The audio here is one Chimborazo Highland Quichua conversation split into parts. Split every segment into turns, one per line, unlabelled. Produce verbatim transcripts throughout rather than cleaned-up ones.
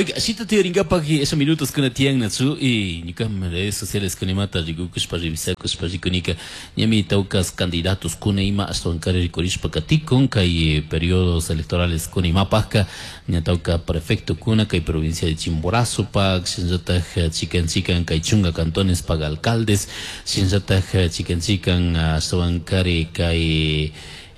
Oiga, shita tiyaringapaj esos minutos kuna tiyan natsu y ñukam redes sociales kunimata rikukushpa revisakushpa rikunika ñami tawkas candidatos kuna ima ashtawankari rikurishpa katikun kay periodos electorales kuna imapajka ña tawka prefecto kuna kay provincia de Chimborazo pak shinallataj chikan chikan kay chunga cantones pak alcaldes shinallataj chikan chikan ashtawankari kay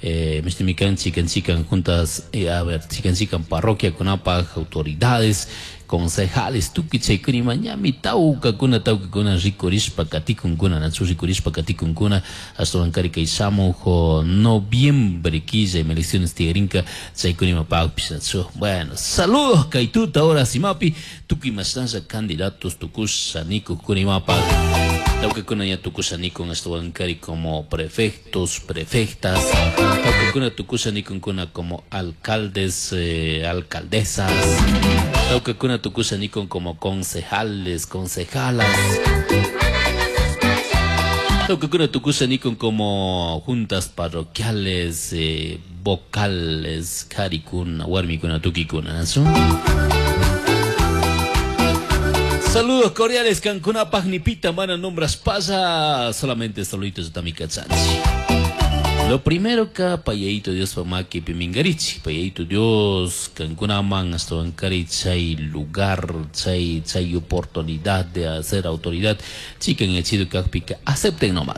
Eh, Mishmican, chican chican juntas, eh, a ver, chican chican parroquia kunapaj, autoridades, concejales, tukuy chaykuna ñami tawkakuna tawkakuna rikurishpa katikunkuna nachu rikurishpa katikunkuna ashtawankari kay shamuj noviembre killa ima elecciones tiyarinka chaykuna imapakpish nachu. Bueno, saludos kay tuta ahora simapi tukuy mashnalla candidatos tukusha nikukuna imapak tawkakuna ña tukusha nikun ashtawankari como prefectos, prefectas, tawkakuna tukusha nikunkuna como alcaldes, eh, alcaldesas, tawkakuna tukusha nikun como concejales, concejalas, tawkakuna tukusha nikun como juntas parroquiales, eh, vocales, karikuna, warmikuna, tukikuna, ¿no? Saludos cordiales, Cancuna Pagnipita, mana nombras pasa, solamente saluditos de Tamikachanchi. Lo primero que payaito Dios pamaki pimingarichi, payaito Dios, Cancuna man hasta bancari chay lugar, chay, chay oportunidad de hacer autoridad, chican echido kakpika, acepten nomás.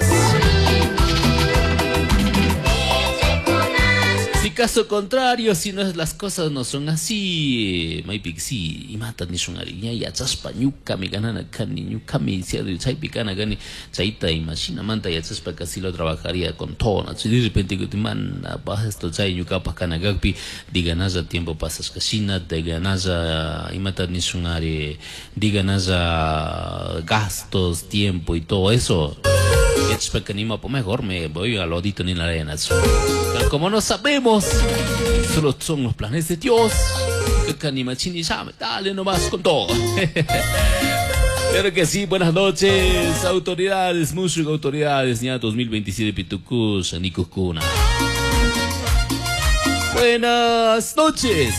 Si caso contrario, si no es, las cosas no son así, maypik si imata nishun ari ña yachashpa ñukami ganana kani ñukami chaypi kana kani chayta imashinamanta yachashpa casi lo trabajaría con todo, ¿no? De repente que mana esto chay ñukapaj kana kakpi diganalla tiempo pasashka shina diganalla imata nishun ari diganalla gastos, tiempo y todo eso. Yachashpa kanima pues mejor me voy al lodito ni la arena. Pero como no sabemos, solo son los planes de Dios. Dale nomás con todo. Claro que sí, buenas noches, autoridades, muchas autoridades, ya dos mil veintisiete Pitucus, Nicucuna. Buenas noches.